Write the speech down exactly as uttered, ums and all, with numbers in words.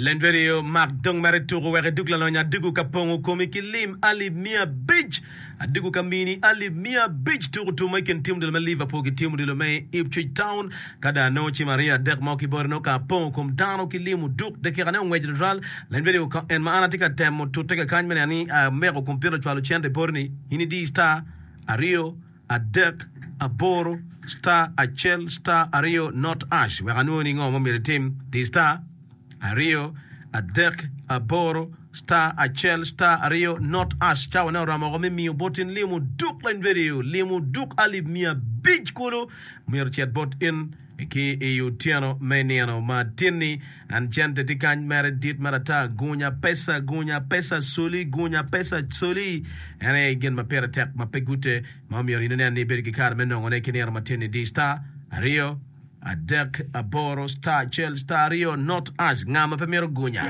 Len radio mak dong mere tuku wek idug lalonyo adugu ka pongo komi ki lim alip miya abic adugu ka mini alip miya abic tuku tumo i kin tim odilo me Liverpool ki tim odilo me Ipswich Town ka dong anongo cim aryo adek mo ki bote nongo ka apongo kom dano ki lim oduk dakika ne ongweco tutwal len radio ka en ma an atye ka temo tute kakany me neno ni ameko kompiuta cwalo cente boti ni in idi star aryo adek aboro star acel star aryo not hash wek anwoni ni ngo ma myero itim di star aryo adek aboro star acel star aryo not hash cawa ne oromo oko me miyo bot in limo duk lany radio limo duk alip miya abic kulu myero cet bot in ki i otyeno me nino ma tinni an cente tye kany mere dit mere ata gunya pesa gunya pesa soli gunya pesa soli en aye gin ma pire tek ma pe gute ma omyero in inen ni ibedo ki kare me nongone ki nino ma tinni di star aryo adek aboro star acel star aryo not hash nga ma pe mito gunya.